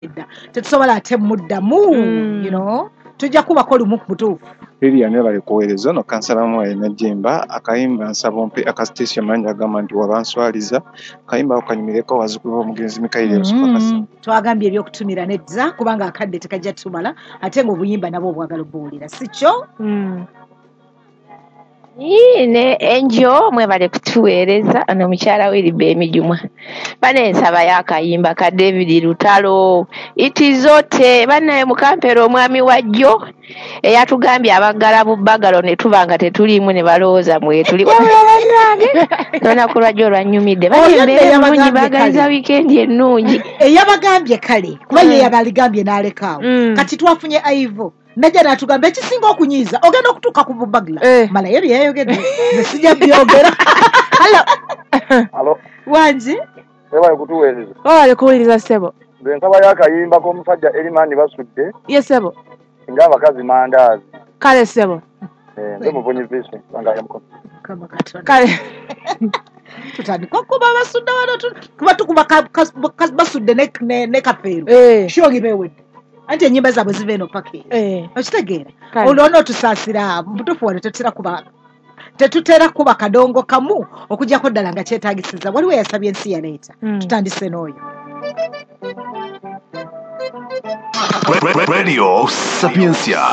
Edda tetusobola ate muddamu. Tujja kubako lumu ku butuufu. Lilian, webale kuweereza. Ono kansala Mwayi Najjemba. Akayimba nsaba ompe akasiteesi amangi agamba nti wabanswaliza. Kayimba ako kanyumireko bazzukulu b'omugenzi Mikayiri Lusupakasi. Twagambye ebyokutumira nedda, kubanga akadde tekajja tumala, ate ng'obuyimba nabwo obwagala obuwulira, si kyo? Ne enjo mwebale kutuweereza. Ono mukyala Wiriba Emijumwa banensaba yakayimba ka David Lutalo itizote. Bannaye mukampera omwami wajjo eyatugambye abaggala bubbagalo ne tuba nga tetuliimu ne balowooza mwetuli. Wabula bannange, olunaku lwajjo olwannyumidde. Oyo nno Bane embeera ennungi. Eyabagambye Baagaliza kale. wiikendi ennungi. Eyabagambye kale, kuba ye yabaligambye n'alekaawo. Kati twafunye Aivo najja n'atugamba ekisinga okunyiiza ogenda okutuuka ku bubagla. Malayo byeyayogedde nze sijja byogera. Hello. Alo, wangi. Webale kutuweereza. Webale kuwuliriza, ssebo. Nze nsaba y'akayimba k'omusajja Erimani Basudde Ye ssebo. ng'abakazi mandaazi. Kale ssebo. Eh, nze Muvunyi Vincent Wangala Mukono. Mukama Katonda. Kale. Tutandika okuba Basudde wano kuba tukuba Basudde ne Kafeero. Shogi bewedde anti enyimba zaabwe ziva eno paka eyo. Okitegeera? Kale. Olwo onootusaasira mubutuufu wano tetutera kuba kadongo kamu okujjako ddala nga kyetaagisiza. Waliwo eyasabye ensi yaleeta. Tutandise n'oyo. Radio Sapientia.